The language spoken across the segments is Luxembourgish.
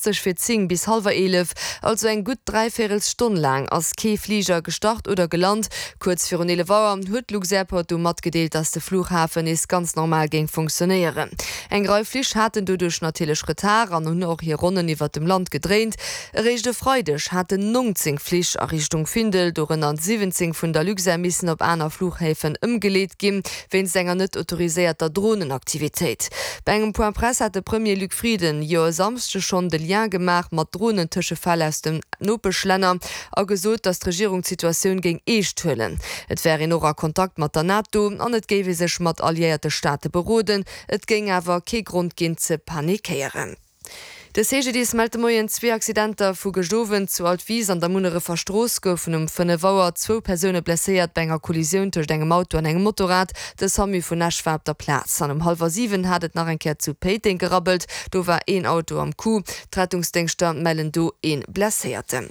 20 fir 10 bis hallwer 11, also eng gutt Dräivéierelsstonn laang, ass kee Fliger gestart oder gelant. Kuerz virun 11 Auer huet d'Luxairport du matgedeelt, dass de Flughafen nees ganz normal géing funktionéieren. Eng Rei Flich haten doduerch natierlech Retard an hunn och hir Ronnen iwwert dem Land gedréint. Eréischt e Freideg haten 19 Flich a Richtung Findel, dorënner 17 vun der Luxair, missen op aner Flughäfen ëmgeleet ginn, wéinst enger net autoriséierter Dronenaktivitéit. Bei engem Point Presse hat de Premier Luc Frieden jo e Samschdeg schonn de Lien gemaach mat Dronentëschefäll aus den Nopeschlänner a gesot, datt d'Regierung d'Situatioun géing eescht huelen. Et wär een och a Kontakt mat der NATO an et géif ee sech mat alliéierte Staate beroden. Et géing awer kee Grond ginn ze panikéieren. De CGDIS mellt de Moien zwee Accidenter vu gëscht Owend. Zu Altwis an der Munnerefer Strooss goufen um 5 Auer zwou Persoune blesséiert bei enger Kollisioun tëscht engem Auto an engem Motorrad. De Samu vun Esch war op der Plaz. An um hallwer 7 hat et nach eng Kéier zu Péiteng gerabbelt. Do war een Auto am Coup. D'Rettungsdéngschter mellen do ee Blesséierten.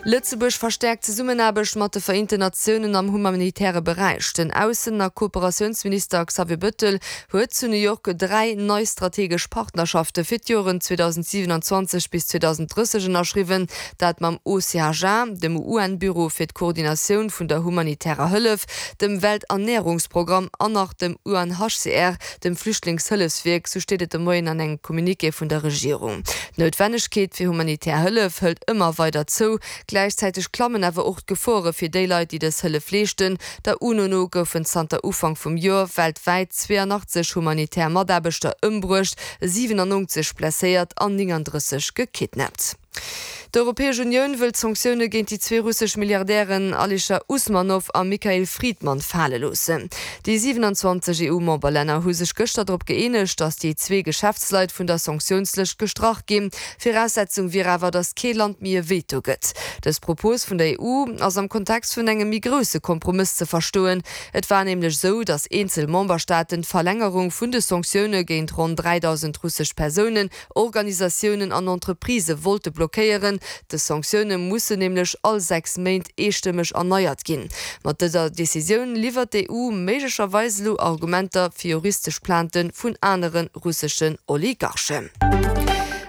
Lëtzebuerg verstäerkt d'Zesummenaarbecht mat de Vereenten Natiounen am humanitäre Beräich. Den Aussen a Kooperatiounsminister Xavier Bettel huet zu New York 3 nei strategesch Partnerschafte fir d'Joren 2027 bis 2030 ënnerschriwwen, dat mam OCHA, dem UN-Büro fir d'Koordinatioun vun der humanitärer Hëllef, dem Welternärungsprogramm an nach dem UNHCR, dem Flüchtlingshëllefswierk, sou steet et de Moien an engem Communiqué vun der Regierung. D'Noutwennegkeet fir humanitär Hëllef hëlt ëmmer weider zou. Gläichzäiteg klammen awer och d'Gefore fir déi Leit, déi dës Hëllef leeschten. Der UNO no goufen zanter Ufank vum Joer weltwäit 82 humanitär Mataarbechter ëmbruecht, 97 blesséiert an 39 gekidnappt. D'Europäesch Unioun wëll d'Sanktioune géint déi zwee russesch Milliardären Alischer Usmanow a Mikhail Fridman fale loossen. Déi 27 EU-Memberlänner hu sech gëschter drop gëeenegt, datt déi zwee Geschäftsleit vun der Sanktiounslëscht gestrach ginn. Viraussetzung wier awer, datt kee Land méi e Veto gëtt. Dës Propos vun der EU ass am Kontext vun engem méi grousse Kompromëss ze verstoen. Et war nämlech esou, datt eenzel Memberstaaten d'Verlängerung vun de Sanktioune géint ronn 3.000 russesch Persounen Organisatiounen an Entreprisë wollte blockéieren. Dës Sanktioune mussen nämlech all 6 Méint eestëmmeg erneiert ginn. Mat dëser Decisioun liwwert d'EU méiglecherweis elo Argumenter fir juristesch Plainte vun anere russeschen Oligarchen.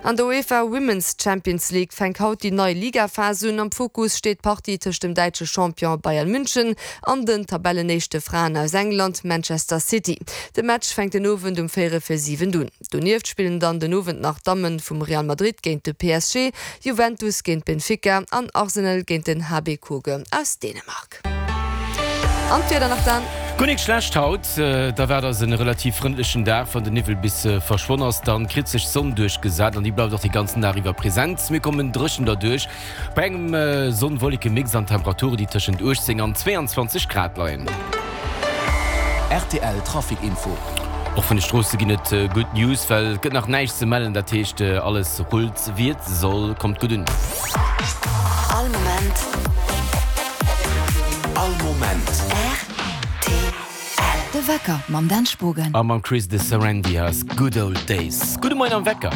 An der UEFA Women's Champions League fänkt haut déi nei Ligaphas un. Am Fokus steet d'Partie tëscht dem däitsche Champion Bayern München an den Tabellenéischte Fraen aus England, Manchester City. De Match fänkt den Owend um véierel vir 7 un. Donieft spillen dann den Owend nach d'Damme vum Real Madrid géint de PSG, Juventus géint Benfica an Arsenal géint den HB Køge aus Dänemark. An d'Wieder nach dann. Guer nik schlecht haut, da waart eis en relativ frëndlechen Dag. Wann den Niwwel bis verschwonn ass, dann kritt sech d'Sonn duerchgesat an déi bleift och de ganzen Dag iwwer präsent. Mir kommen dréchen derduerch Bei engem Sonn-Wolleke-Mix an Temperaturen, déi tëschent 18 an 22 Grad leien. Rtl Trafic Info. Och vun de Stroosse ginn et gutt News, well et gëtt nach näischt ze mellen. Dat heescht, alles rullt wéi et soll. Kommt gutt un. All Moment. All Moment. Rtl. De Wecker mam Dan Spogen. A mam Chris de Sarandy aus Good Old Days. Gudde Moien am Wecker.